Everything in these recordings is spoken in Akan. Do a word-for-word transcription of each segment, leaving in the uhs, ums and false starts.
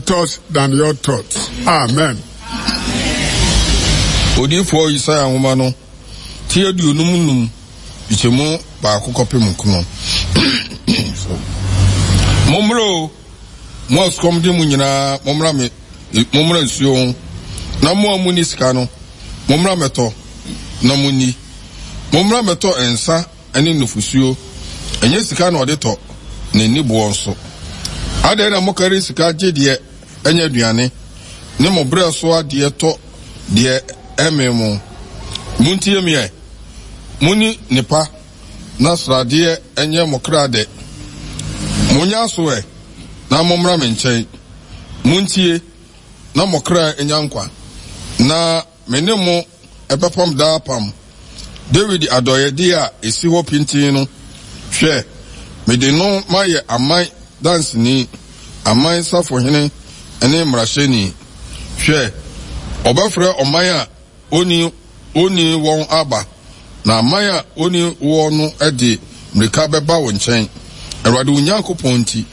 Thoughts than your thoughts. Amen. Odiyifoɔ Yesaia nwoma no ti aduonum nnum nkyɛmu baako kɔpem nkono. Mommra o, mo a sukɔm de mo nyinaa, mommra me, mommra nsuo ho, na mo a monni sika no, mommra mmɛtɔ na monni. Mommra mmɛtɔ nsa ne nufosuo, ɛnyɛ sika na ɔde tɔ, na ɛnni boɔ nso. Adɛn na mokari sika gye deɛ ɛnyɛ aduane, ne mo berɛ so adeɛ tɔ deɛ ɛmmee mo? Montie me ɛ, monni nnepa, na sradeɛ nyɛ mo kra dɛ. Monyɛ aso ɛ, na mommra me nkyɛn. Montie, na mo kra nya nkwa, na me ne mo bɛpam daa apam, Dawid adɔeɛdeɛ a ɛsi hɔ pintinn no. Hwɛ, mede no mayɛ aman danseni, aman safohene ne mmarahyɛni. Hwɛ, ɔbɛfrɛ ɔman a onni onni wɔn aba, na aman a onni woɔ no de mmirika bɛba wo nkyɛn, Awurade wo Nyankopɔn nti,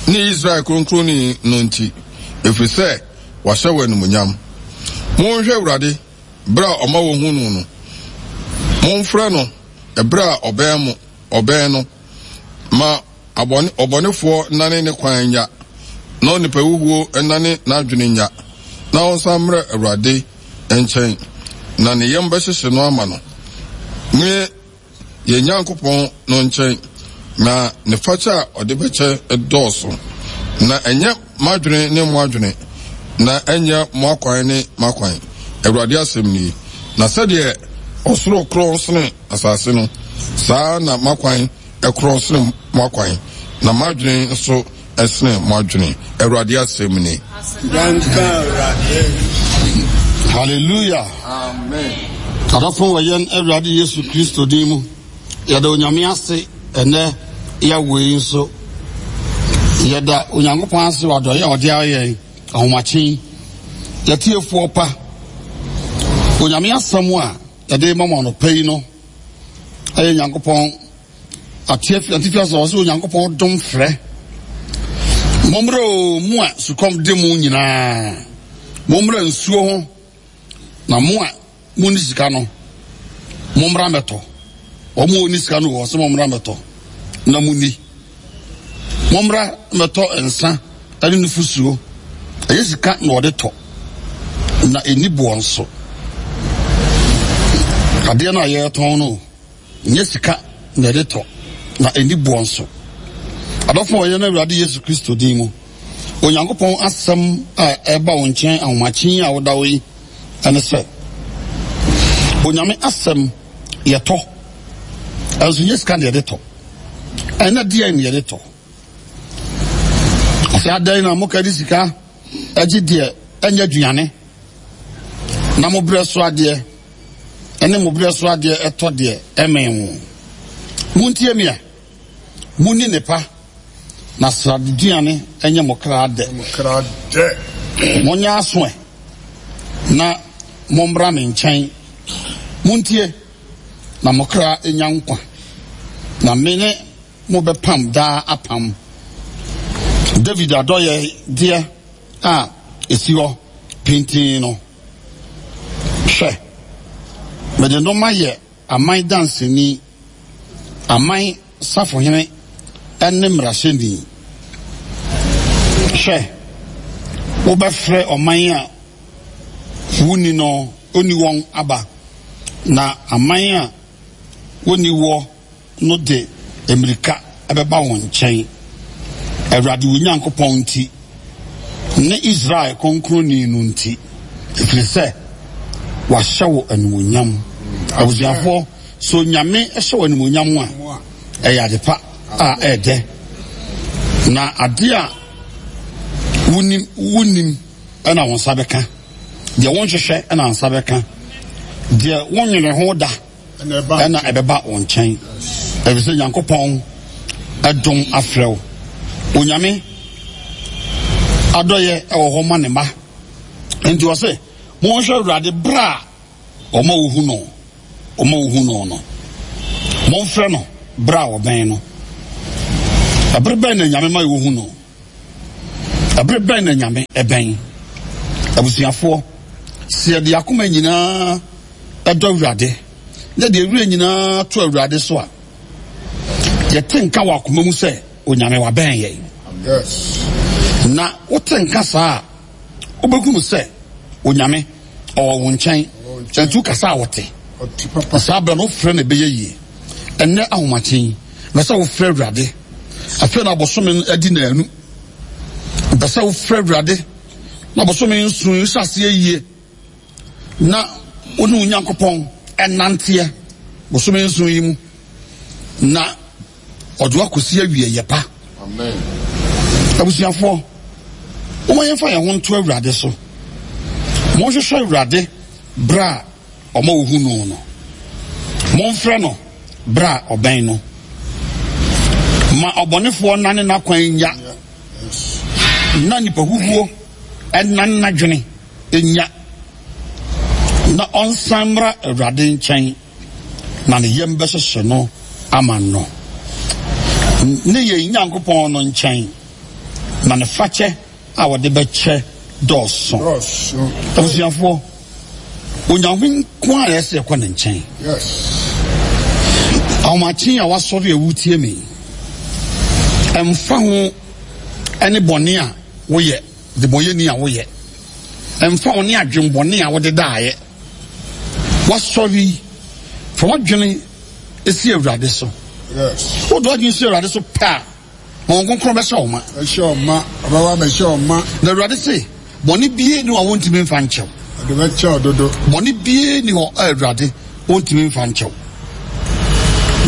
ne Israel Kronkronni no nti, ɛfiri sɛ wahyɛ wo animuonyam. Monhwɛ Awurade berɛ a ɔma wɔhu no no, momfrɛ no ɛberɛ a ɔbɛn mo, ɔbɛn no. Ma abɔne, ɔbɔnefoɔ nnane ne kwan nnya, na onipa huhuo nnane n'adwene nnya, na ɔnsan mmrɛ Awurade nkyɛn, na ne yam bɛhyehye no ama no, ne yɛn Nyankopɔn no nkyɛn, na ne fakyɛ a ɔde bɛkyɛ dɔɔso. Na ɛnyɛ m'adwene ne mo adwene, na ɛnyɛ mo akwan ne m'akwan, Awurade asɛm nie. Na sɛdeɛ ɔsoro korɔn sene asase no, saa ara na m'akwan korɔn sene mo akwan, na m'adwene nso sene mo adwene, Awurade asɛm ni. Hallelujah. Amen. Adɔfo wɔ yɛn Awurade Yesu Kristo din mu, yɛda Onyame ase ɛnɛ yɛawo yi nso. Yɛda Onyankopɔn ase wɔ adɔeɛ a ɔde ayɛ yɛn ahomakye yi. Yɛtiefoɔ pa, Onyame asɛm a yɛde ma mo anɔpa yi no ɛyɛ Nyankopɔn atifi atifi asɛ ɔsɛ Onyankopɔn dom frɛ. Mommrɛ o, mo a sukɔm de mo nyinaa, mommrɛ nsuo ho, na mo a monni sika no, mommra mmɛtɔ. Wɔn a wɔnni sika no wɔ sɛ mommra mmɛtɔ na monni. Mommra mmɛtɔ nsa ne nufosuo. Ɛyɛ sika na wɔde tɔ, na ɛnni boɔ nso. Adeɛ no a yɛretɔn no, nyɛ sika na yɛde tɔ, na ɛnni boɔ nso. Adɔfo wɔ yɛn Awurade Yesu Kristo din mu, Onyankopɔn asɛm a ɛba wo nkyɛn ahomakye yi a woda hɔ yi ɛne sɛ, Onyame asɛm yɛtɔ, ɛnso nyɛ sika na yɛde tɔ. Ɛna deɛn na yɛde tɔ? Ɔsɛ adɛn na moka de sika agye deɛ ɛnyɛ aduane, na mo berɛ so adeɛ ɛne mo berɛ so adeɛ ɛtɔ deɛ ɛmɛn mo. Montie me a, monni nnepa, na sradeduane nyɛ mo kra dɛ. Monyɛ aso ɛ, na mommra me nkyɛn. Montie, na mo kra nya nkwa, na me ne mo bɛpam daa apam. David adɔeɛdeɛ a ɛsi hɔ pintinn no, hwɛ, mede no mayɛ aman danseni, aman safohene ne mmarahyɛni. Hwɛ, wobɛfrɛ ɔman a wonni no, onni wɔn aba, na aman a wonni woɔ no de mmirika bɛba wo nkyɛn, Awurade wo Nyankopɔn nti, ne Israel Kronkronni no nti, ɛfiri sɛ wahyɛ wo animuonyam. Abusuafoɔ, sɛ Onyame hyɛ wo animuonyam a, ɛyɛ ade pa a ɛɛdɛ, na ade a wonim wonim na wo nsa bɛka, deɛ wonhwehwɛ na nsa bɛka, deɛ wonwene ho da ɛna ɛbɛba wo nkyɛn, ɛfiri sɛ Nyankopɔn ɛdom afrɛ wo. Onyame adɔyɛ ɛwɔ hɔ ma ne mma. Nti ɔse, monhwɛ Awurade berɛ a ɔma wohu no, ɔma wohu no no. Momfrɛ no berɛ a ɔbɛn no. Ɛbere bɛn na Nyame ma wohu no? Ɛberɛ bɛn na Nyame ɛbɛn? Abusuafoɔ, sɛ yɛde akoma nyinaa ɛdɔ Awurade, na yɛde yɛn werɛ nyinaa to Awurade so a, yɛte nka wɔ akoma mu sɛ Onyame wabɛn yɛn. Na wote nka saa a, wobɛhunu sɛ Onyame ɔwɔ wo nkyɛn, nti wokasa a ɔte. Na saa berɛ no wofrɛ no ɛbɛyɛ yie. Ɛnnɛ ahomakye yi, mepɛ sɛ wofrɛ Awurade. Afei na bosome no adi naanu. Mepɛ sɛ wofrɛ Awurade na bosome nson yi hyɛ aseɛ yie na wo ne wo Nyankopɔn ɛnanteɛ bosome nson yi mu na ɔde wakɔsi awieeɛ pa. Abusuafoɔ, momma yɛmfa yɛn ho nto Awurade so. Monhwehwɛ Awurade berɛ a ɔma wɔhu no no. Momfrɛ no berɛ a ɔbɛn no. Ma ɔbɔnefoɔ nnane n'akwan nnya, na nipa huhuo nnane n'adwene nnya, na ɔnsan mmra Awurade nkyɛn, na ne yam bɛhyehye no ama no, ne yɛn Nyankopɔn no nkyɛn, na ne fakyɛ a wɔde bɛkyɛ dɔɔso. Abusuafoɔ, Onyame nko a ɛsɛ yɛkɔ ne nkyɛn. Ahomakye a wasɔre a wotie me, ɛmfa ho ɛne bɔne a woyɛ, debɔyɛni a woyɛ, ɛmfa ho ne adwenbɔne a wode daeɛ, wasɔre yi, fa w'adwene si Awurade so. Wode w'adwene si Awurade so pɛ a, Honhom Kronkron bɛhyɛ wo ma. Bɛhyɛ wo ma. Ɔbɛba abɛhyɛ wo ma. Na Awurade se, bɔne biara nni hɔ a wɔntumi mfa nkyɛ wo. Ɔde bɛkyɛ wo dodo. Bɔne biara nni hɔ a Awurade ɔntumi mfa nkyɛ wo.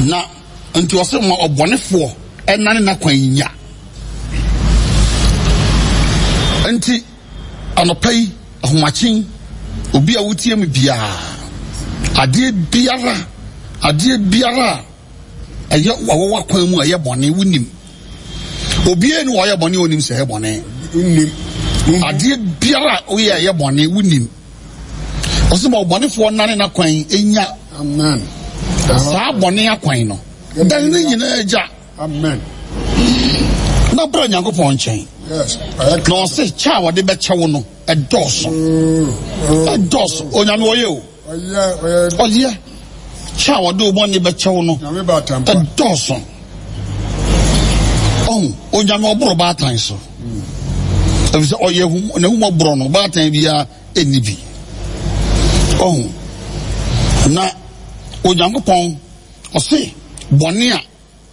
Na nti ɔse ma ɔbɔnefoɔ ɛnane n'akwan nya. Nti anɔpa yi, ahomakye yi, obi a wotie me biara, adeɛ biara, adeɛ biara a ɛyɛ wɔwɔ w'akwan mu a ɛyɛ bɔne wonim obiara ni wɔyɛ bɔne onim sɛ ɛyɛ bɔne wonim adeɛ biara a woyɛ ɛyɛ bɔne wonim ɔsɛ ma ɔbɔnefoɔ nane n'akwan nya amen saa bɔne akwan no dan ne nyinaa gya amen na bra Nyankopɔn nkyɛn na ɔse kyɛ a wɔde bɛkyɛ wo no ɛdɔɔso ɛdɔɔso Onyame ɔyɛ o Ɔyɛ. Kyɛ a wɔde wo bɔne bɛkyɛ wo no, ɛdɔɔso. Ɔhu, Onyame ɔboro baatan so. Efisɛ ɔyɛ n'ahummɔborɔ no, baatan biara ɛnni bi. Ɔhu, na Onyankopɔn ɔse bɔne a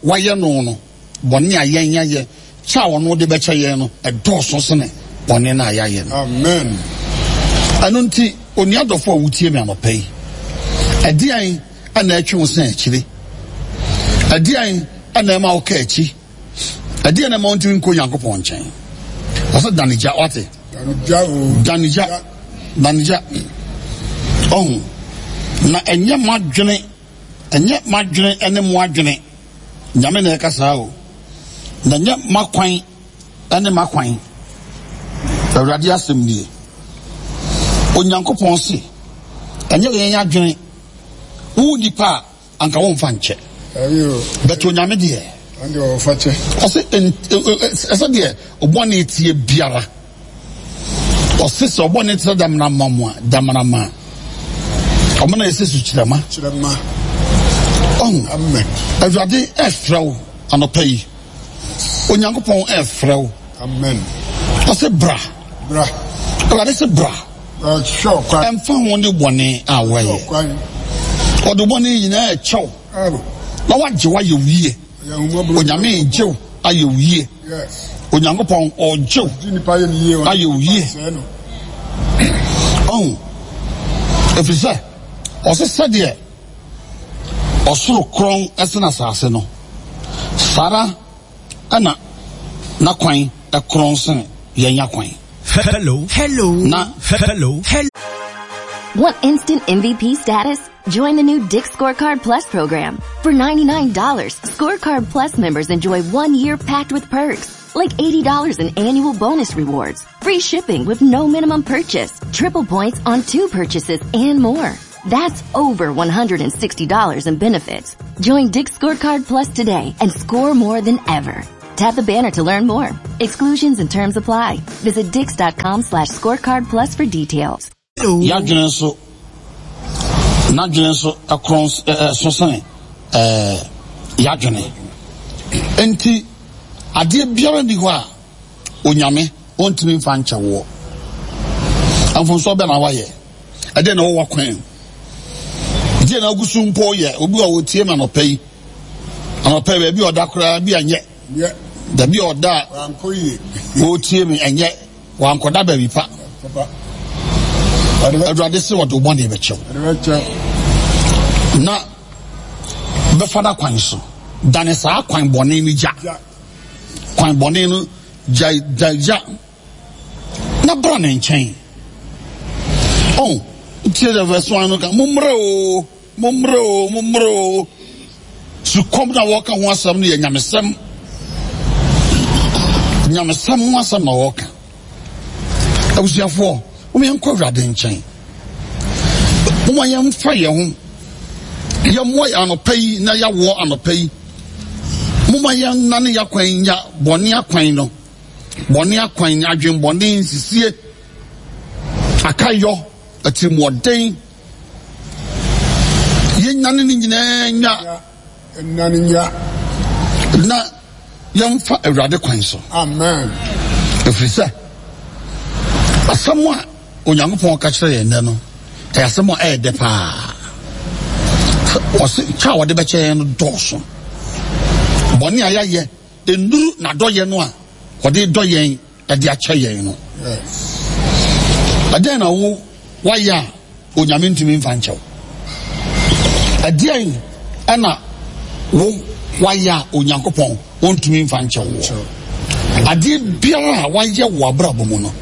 wɔayɛ no no, bɔne a yɛn yɛayɛ, kyɛ a ɔno de bɛkyɛ yɛn no, ɛdɔɔso sene bɔne no a yɛayɛ no. Amen. Ɛno nti, onua dɔfo a wotie me anɔpa yi, ɛdeɛn na ɛtwe wo sɛn akyire? Ɛdeɛn na ɛma woka akyi? Ɛdeɛn na ɛma wontumi nkɔ Onyankopɔn nkyɛn? Ɔsɛ dane gya, wate? Dane gya, dane gya. Ɔho, na ɛnyɛ mo adwene Ɛnyɛ m'adwene ne mo adwene, Nyame na ɛka saa o, na ɛnyɛ m'akwan ne m'akwan, Awurade asɛm nie. Onyankopɔn se, ɛnyɛ yɛn adwene, wo nipa a, anka womfa nkyɛ. But Onyame deɛ, ɔse ɛsɛ deɛ ɔbɔne teɛ biara. Ɔse sɛ ɔbɔ ne tiri damena ma mo a, damena ma. Ɔmo na ɛsɛ sukyerɛma. Kyerɛma. Ɔho. Amen. Awurade ɛfrɛ wo anɔpa yi. Onyankopɔn ɛfrɛ wo. Amen. Ɔse bra. Bra. Awurade se bra. Ɔhwɛ ɔkwan. Ɛmfa ho ne bɔne a wɔyɛ. Ɔde bɔne nyinaa ɛkyɛw. Na wagye wayɛ wo yie. Onyame regye wo ayɛ wo yie. Onyankopɔn ɔregye wo ayɛ wo yie. Ɔho, ɛfiri sɛ ɔse sɛdeɛ ɔsoro korɔn ɛsene asase no, saa ara ɛna n'akwan ɛkorɔn sene yɛn akwan. Hello, hello, na hello, hello. Want instant M V P status? Join the new Dick's Scorecard Plus program. For ninety-nine dollars, Scorecard Plus members enjoy one year packed with perks, like eighty dollars in annual bonus rewards, free shipping with no minimum purchase, triple points on two purchases, and more. That's over one hundred and sixty dollars in benefits. Join Dick's Scorecard Plus today and score more than ever. Tap the banner to learn more. Exclusions and terms apply. Visit dicks.com slash scorecard plus for details. Yɛadwene nso, n'adwene nso ɛkorɔn ɛso sene ɛɛ yɛadwene. Enti adeɛ biara nni hɔ a Onyame ɔntumi mfa nkyɛ woɔ. Mfomsoɔ bɛn na wayɛ? Ɛdeɛn na ɛwɔ w'akwan mu? Deɛ na agu so mpo yɛ obi a ɔtie me anɔpa yi. Anɔpa yi baabi a ɔda koraa bi anyɛ. Baabi a ɔda a ɔretie me ɛnyɛ. Wankɔda baabi pa. Awurade se ɔde wo bɔne bɛkyɛ wo. Na bɛfa no kwan so. Dane saa kwan bɔne no gya. Kwan bɔne no gya gya gya. Na bra ne nkyɛn. Oh, tie the verse one no ka, mommrɛ o, mommrɛ o, mommrɛ o. Sukɔm na wɔka ho asɛm no yɛ nyamesɛm. Nyamesɛm ho asɛm na wɔka. Abusuafoɔ, wɔn yɛn kɔ Awurade nkyɛn. Wɔn yɛn fa yɛn ho. Yɛmmoa yɛn anɔpa yi na yɛawoɔ anɔpa yi. Momma yɛn nane yɛakwan nya bɔne akwan no. Bɔne akwan, adwenbɔne, nsisie, akayɔ, atirimuɔden. Yɛnyane ne nyinaa nya. Nane nya. Na yɛmfa Awurade kwan so. Amen. Ɛfiri sɛ, asɛm a Onyankopɔn ka kyerɛ yɛn nnɛ no, ɛyɛ asɛm a ɛyɛ dɛ paa. Ɔse kyɛ a wɔde bɛkyɛ yɛn no dɔɔso. Bɔne a yɛayɛ nnuru n'adɔyɛ no a ɔde dɔ yɛn de akyɛ yɛn no. Ɛdɛn na wo wayɛ a Onyame ntumi mfa nkyɛ wo? Ɛdeɛn ɛna wo wayɛ a Onyankopɔn ɔntumi mfa nkyɛ wo? Adeɛ biara a wayɛ wɔ abrabɔ mu no,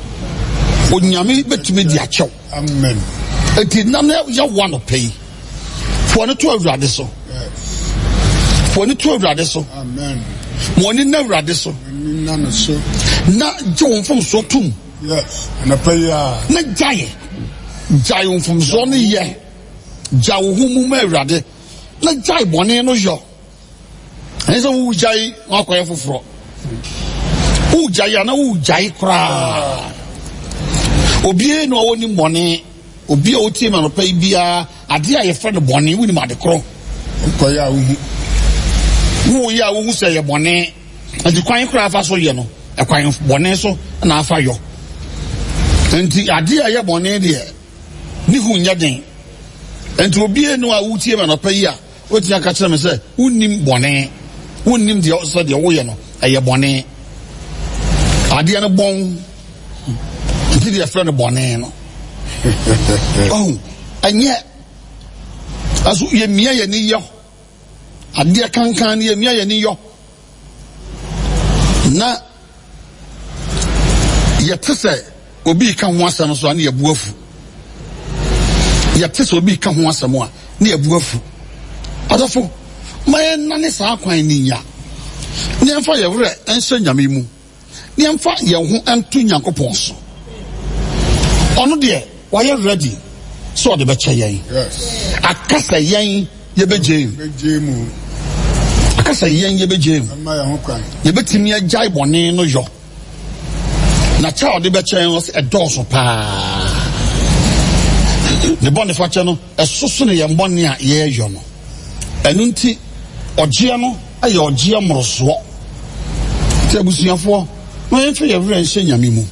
Onyame bɛtumi de akyɛ wo. Amen. Eti nam na yɛ wo anɔpa yi. Fo ani to Awurade so. Fo ani to Awurade so. Amen. Ma ani na Awurade so. Na no so. Na gye wo mfomsoɔ tom. Yes. Anɔpa yi a. Na gyae. Gyae wo mfomsoɔ no yɛ. Gyae wo ho mu ma Awurade. Na gyae bɔne no yɔ. Ɛnyɛ sɛ wogyae na wakɔyɛ foforɔ. Wogyae a na wogyae koraa. Obiara na ɔwɔ nim bɔne. Obi a ɔtie me anɔpa yi biara, adeɛ a yɛfrɛ no bɔne, wonim ade korɔ. Wokɔyɛ a wohu. Woyɛ a wohu sɛ ɛyɛ bɔne. Nti kwan koraa afa so yɛ no, ɛkwan bɔne so na afa yɔ. Nti adeɛ a ɛyɛ bɔne deɛ, ne hu nyɛ den. Nti obiara no a wotie me anɔpa yi a, wotumi aka kyerɛ me sɛ wonnim bɔne, wonnim deɛ sɛ deɛ woyɛ no ɛyɛ bɔne. Adeɛ no bɔn nti deɛ ɛfrɛ no bɔne no. Ɔhu ɛnyɛ ɛso yɛmia yɛn ani yɔ adeɛ kankan no yɛmia yɛn ani yɔ na yɛte sɛ obi reka ho asɛm so a ne yɛbu afu. Yɛte sɛ obi reka ho asɛm a ne yɛbu afu. Adɔfo, ma yɛnnane saa kwan no nya, na yɛmfa yɛn werɛ nhyɛ Nyame mu, na yɛmfa yɛn ho nto Nyankopɔn so. Ɔno deɛ, wayɛ ready sɛ ɔde bɛkyɛ yɛn. Aka sɛ yɛn yɛbɛgye mu. Aka sɛ yɛn yɛbɛgye mu. Yɛbɛtumi agyae bɔne no yɔ. Na kyɛ a ɔde bɛkyɛ yɛn no ɛdɔɔso paa. Ne bɔne fakyɛ no ɛso sene yɛn bɔne a yɛyɔ no. Ɛno nti ɔgyeɛ no yɛ ɔgyeɛ mmorosoɔ. Nti abusuafoɔ, ma yɛmfa yɛn werɛ nhyɛ Nyame mu.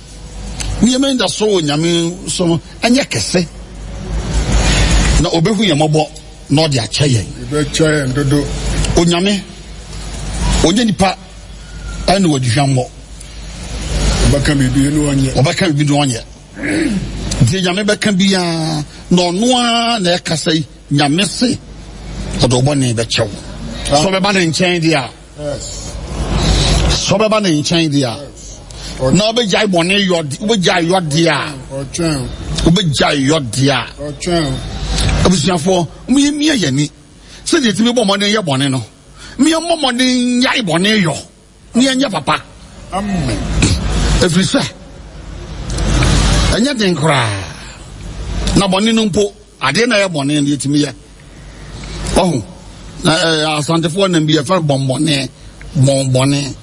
Ne yɛn anidasoɔ wɔ Nyame so no ɛnyɛ kɛse. Na ɔbɛhu yɛn mmɔbɔ na ɔde akyɛ yɛn. Ɔbɛkyɛ yɛn dodo. Onyame, ɔnyɛ nipa ɛne wɔde hwammɔ. Ɔbɛka biribi na ɔnyɛ. Ɔbɛka biribi na ɔnyɛ. Deɛ Nyame bɛka biara na ɔno ara na ɛkasa yi, Nyame se ɔde ɔbɔne bɛkyɛ wo. Sɛ ɔbɛba ne nkyɛn deɛ a, sɛ ɔbɛba ne nkyɛn deɛ a, na ɔbɛgyae bɔne yɔ, wobɛgyae yɔ deɛ a, wobɛgyae yɔ deɛ a. Abusuafoɔ, mo yɛ mia yɛn ani sɛdeɛ ɛtumi bɔ mmɔden yɛ bɔne no. Yɛmmɔ mmɔden nnyae bɔne yɔ na yɛnyɛ papa. Ɛfiri sɛ ɛnyɛ den koraa na bɔne no mpo adeɛ na ɛyɛ bɔne no yɛtumi yɛ. Ɔho na ɛɛ asantefoɔ nam bi yɛfrɛ bɔnbɔne bɔnbɔne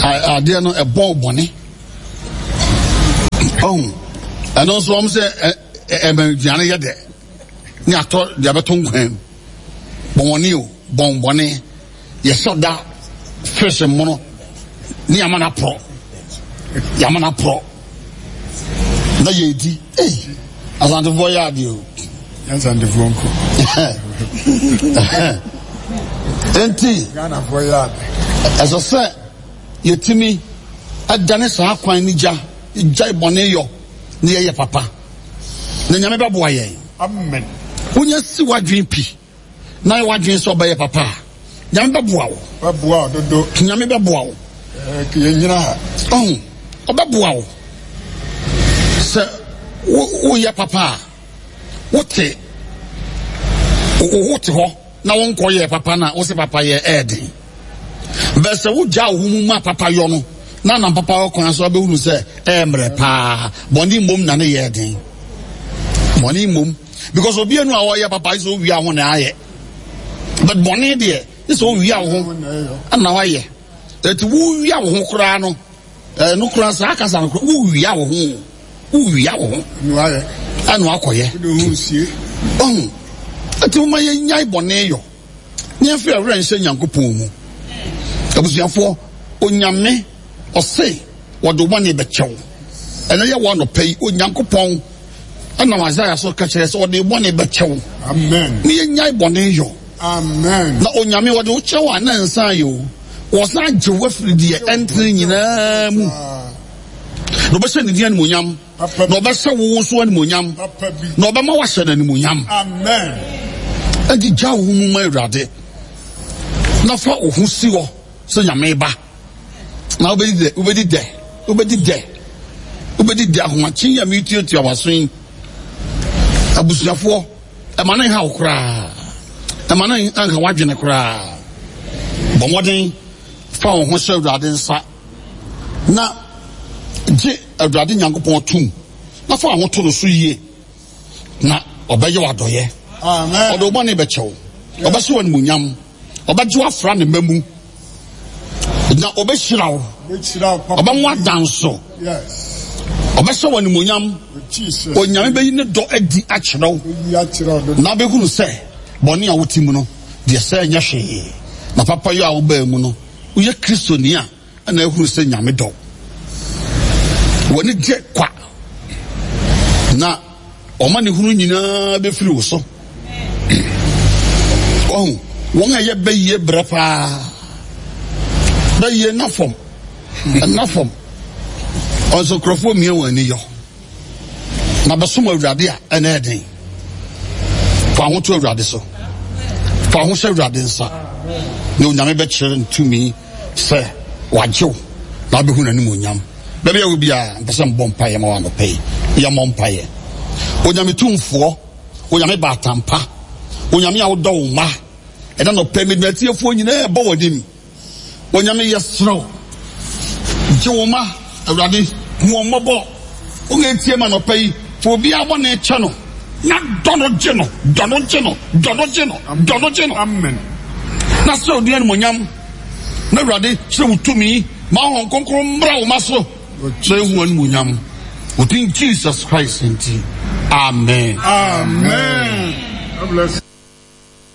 Adeɛ no ɛbɔn bɔne. Ɔhu ɛno nso wɔn sɛ ɛmɛ aduane yɛ dɛ ne atɔ deɛ bɛto nkwan mu. Bɔnbɔne o, bɔnbɔne. Yɛsɔ da fish mmono ne yɛama no aporɔ. Yɛama no aporɔ na yɛdi. Ei, Asantefoɔ yɛ adeɛ o. Asantefoɔ nko. Enti, Ghanafoɔ yɛ ade. Ɛsɛ sɛ yɛtumi dane saa kwan no gya, gyae bɔne yɔ na yɛyɛ papa. Na Nyame bɛboa yɛn. Amen. Wonya si w'adwene pi na yɛ w'adwene sɛ ɔbɛyɛ papa a, Nyame bɛboa wo. Bɛboa wo dodo. Nyame bɛboa wo. Yɛnyina ha. Ɔho, ɔbɛboa wo. Sɛ woyɛ papa a, wote wote hɔ na wonkɔ yɛ papa na wose papa yɛ ɛɛden. Bɛ sɛ wogya wo ho mu ma papa yɔ no na nam papa wɔ kwan so abɛhunu sɛ ɛyɛ mmerɛ paa. Bɔne mmom na ne yɛ den. Bɔne mmom. Because obi anu a ɔyɛ papa sɛ owia ho na ayɛ. But bɔne deɛ sɛ owia wo ho na wayɛ. Eti wowia wo ho koraa no, ɛno koraa saa kasa no koraa wowia wo ho. Wowia wo ho. Ɛna akɔyɛ. Ɔho. Eti mo ma yɛnyae bɔne yɔ. Ne yɛmfa yɛn werɛ nhyɛ Nyankopɔn mu. Abusuafoɔ, Onyame ɔse wɔde wo bɔne bɛkyɛ wo. Ɛnɛ yɛ wɔ anɔpa yi, Onyankopɔn ɛnam Isaiah so ka kyerɛ sɛ ɔde bɔne bɛkyɛ wo. Amen. Ne yɛnyae bɔne yɔ. Amen. Na Onyame wɔde wo kyɛ wo a na nsan yɛ o. Wɔsan gye wo afiri deɛ ɛntene nyinaa mu. Na ɔbɛhyɛ ne din animuonyam. Na ɔbɛhyɛ wo nso animuonyam. Na ɔbɛma wahyɛ no animuonyam. Amen. Enti gya wo ho mu ma Awurade. Na fa wo ho si hɔ sɛ Nyame ba. Na wobɛdi dɛ, wobɛdi dɛ, wobɛdi dɛ, wobɛdi dɛ ahomakye yi a metuatua w'aso yi. Abusuafoɔ, ɛma no nha wo koraa. Ɛma no nka w'adwene koraa. Bɔ mmɔden fa wo ho hyɛ Awurade nsa na gye Awurade Nyankopɔn tom na fa wo ho to no so yie na ɔbɛyɛ wo adɔyɛ. Ɔde wo bɔne bɛkyɛ wo. Ɔbɛhyɛ wo animuonyam. Ɔbɛgye wo afra ne mma mu. Na ɔbɛhyira wo. Ɔbɛmo adanso. Ɔbɛhyɛ wo animuonyam. Onyame bɛyi ne dɔ adi akyerɛ wo. Na abɛhunu sɛ bɔne a wote mu no deɛ sɛ ɛnyɛ hwee. Na papa yi a wobaa mu no, woyɛ Kristoni a ɛna ahunu sɛ Nyame dɔ wo. W'ani gye kwa. Na ɔma ne hunu nyinaa bɛfiri wo so. Wahu, wɔn a ɛyɛ bɛyie brɛ paa. Bɛyie nna fam, nna fam. Ɔnso nkurɔfoɔ mia wɔn ani yɔ. Na bɛsom Awurade a ɛna ɛden. Fa ho to Awurade so. Fa ho hyɛ Awurade nsa. Na Onyame bɛkyerɛ ne tumi sɛ wagye wo na wabɛhu n'animuonyam. Baabi a wɔ biara, mpɛ sɛ mbɔ mpaeɛ ma wo anɔpa yi. Yɛmmɔ mpaeɛ. Onyame tumfoɔ, Onyame baatampa, Onyame a wodɔ wo mma, ɛna nɔpɛ mede atiefoɔ nyinaa ɛbɔ w'anim. Onyame yɛserɛ wo, gye wo mma, Awurade, hu wɔn mmɔbɔ. Wɔn a etie ma nɔpɛ yi, fa obiara bɔne kyɛ no, na dɔ no gye no, dɔ no gye no, dɔ no gye no, dɔ no gye no. Amen. Na sɛ odi animonyam, na Awurade kyerɛ wo tumi, ma Honhom Kronkron mmra wo ma so, na ehu animonyam. Wo din Jesus Christ nti, amen. Amen. God bless.